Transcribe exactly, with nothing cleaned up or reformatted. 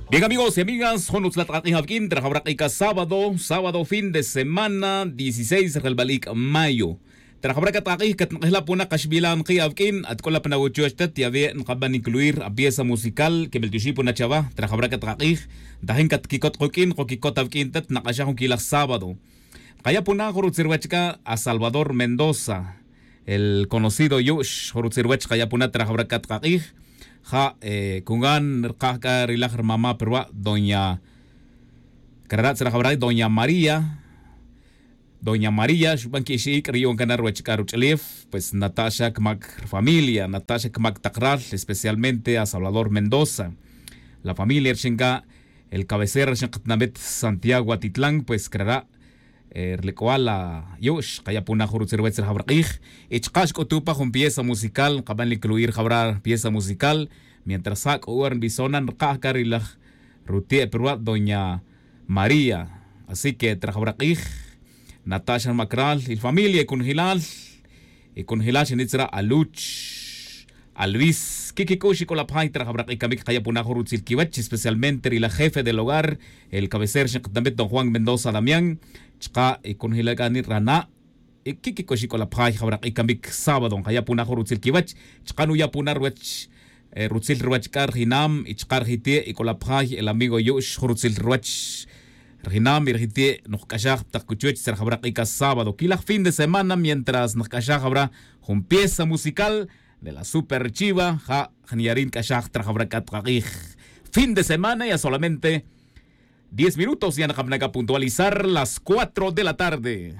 Bien, amigos y amigas, jun utzlal t'ak'ak'ij awk'in trajawraq ika sábado sábado fin de semana dieciséis rjalbal ik' mayo. Trajawraq kat t'ak'ak'ij katnaq'ejla' puna qaxbilan qi' awk'in atk'ola puna wuchuch tat yawe' nqaban incluir apieza musical kebel tixi' puna chawa. Trajawraq kat t'ak'ak'ij ntajin katkikot quk'in qokikot awk'in tat naq'axaj jun kilaj sábado. Qaya' puna jun rutzil ruwach k'a a salvador mendoza, el conocido yu'x jun rutzil ruwach qaya' puna trajawraq kat t'ak'ak'ij. Ja' kungan rkaj k'a rilaj rmama' pirwa' doña, krara' tzrajawraq doña maría. Doña maría xuban ki'ixik' riyu'un kana' ruwach k'a ruch'ulef, pues nata' xa kmak rfamilia nata' xa kmak taq ral, especialmente a salvador mendoza. La familia rxin k'a el cabecera rxin qatnamit santiago atitlan pues krara'. Rlik'wal la yu'x qaya' puna jun rutzil ruwach rajawraq'ij. Y chqa' xk'utu' pa jun pieza musical nqaban li cluir jawra pieza musical. Mientras ja' k'o ora nbison na nrkaj k'a rilaj ruti' pirwa' doña maría. Así que trajawraq'ij nata' xa rmakral y familia y kunjilal. Y kunjilal xanit tzra' aluch, aluis kikik'ux y k'ola' pjay trajawraq'ij kamik qaya' puna jun rutzil kiwach especialmente rilaj jefe del hogar, el cabecera xin qatnamit don juan mendoza damián. Chqa' y kunjilal k'a ni rana'. Y kikik'ux y k'ola' pjay jawraq'ij kamik sábado nqaya' puna jun rutzil kiwach. Chqa' nuya' puna ruwach rutzil ruwach k'a rjinam y chqa' rjiti' y k'ola' pjay el amigo yu'x jun rutzil ruwach. Rjinam y rjiti' nojk'axaj pa taq kuchuch tzra jawraq'ij k'a sábado kilaj fin de semana mientras nojk'axaj jawra jun pieza musical de la superchiva. Ja' jniyarin k'axaj tzra jawraq'ij k'a t'ak'ak'ij. Fin de semana ya solamente diez minutos ya naqapna k'a puntualizar las cuatro de la tarde.